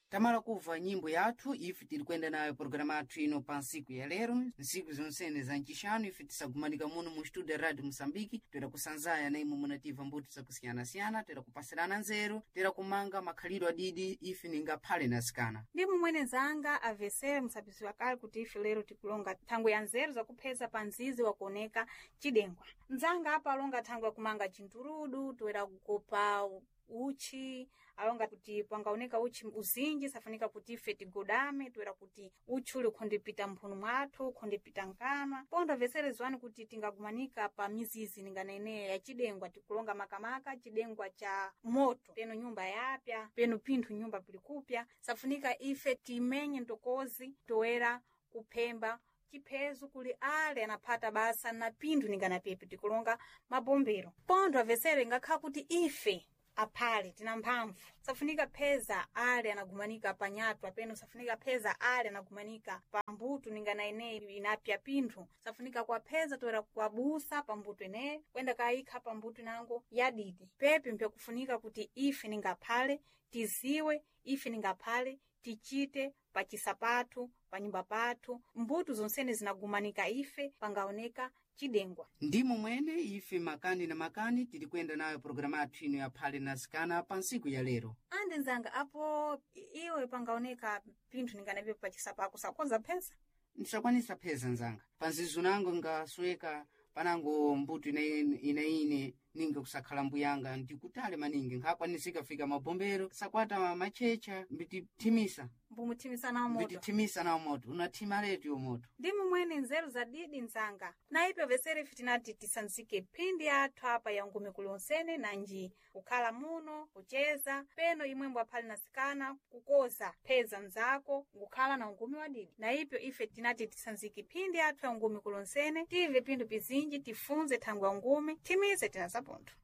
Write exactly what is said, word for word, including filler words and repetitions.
Tamala kubva nyimbo yathu ife tiri kuyenda nayo pologalamu yathu ino pa ntsiku ya lero, ntsiku zonsene za ncixanu ife tisagumanika muno mu studio ya Radio Moçambique, toera kusanzaya na imwe munativa mbuto zakusiyanasiyana, toera kupasirana nzeru, toera kumanga makhalidwe adidi ife ningaphale na asikana. Ndi mumwene nzanga avesere musapisiwa kale kuti ife lero tikulonga thangwe ya nzeru zakupheza pa mzizi wakuoneka cidengwa. Nzanga apa alonga thangwe yakumanga cinturudu, toera kukopa uchi, alonga kuti pangaoneka uchi uzinji safunika kuti ife tigodame, toera kuti uchi uli ukhondipita mphunu mwathu, ukhondipita nkanwa. Pondo avesere ziwani kuti tingagumanika pa mizizi ningana ya cidengwa, tikulonga makamaka cidengwa cha moto, peno nyumba yapya, peno pinthu nyumba pilikupya, safunika ife timenye ntokozi toera kuphemba chiphezu kuli ale anaphata basa na pinthu ningana pepe tikulonga mabombero. Pondo avesere ingakhala kuti ife aphale tina mphamvu, safunika pheza ale anagumanika pa nyatwa, peno safunika pheza ale anagumanika pa mbuto ningana ineyi inapya pinthu, safunika kwapheza toera kwabusa pa mbuto ineyi kwenda kayikha pa mbuto inango yadidi. Pepe mpyakufunika kuti ife ningaphale tiziwe, ife ningaphale tichite pa chisapathu, pa nyumba pathu, mbuto zonsene zinagumanika ife pangaoneka cidengwa. Ndimo mwene ife makani na makani tiri kuyenda nayo pologalamu yathu ino ya phale na asikana pa ntsiku ya lero. Ande nzanga apo iwe pangaoneka pinthu ninganapepo pa chisapako sakonza pheza? Ndisakwanisa pheza nzanga, pa nzizu nango ngasweka panango mbuto inaine ninga kusakhala mbuyanga ndikutale maningi nkhakwanisika fika mabombero sakwata machecha mbitithimisa Mbumuthimisana nawo moto. mbitithimisa nawo moto unathima letu yo moto. Ndi mumwene nzeru za didi nzanga na ipo vesere ife tinati tisanzike phindi athu apa ya ngumi kulonsene nanji kukhala muno kucheza peno imwembo aphale nasikana kukoza pheza nzako kukhala na ungumi wa didi. Na ipyo ife tinati tisanzike phindi athu ya ngumi kulonsene tive pinthu pizinji tifunze thangwe ya ngumi thimize tinazapontho.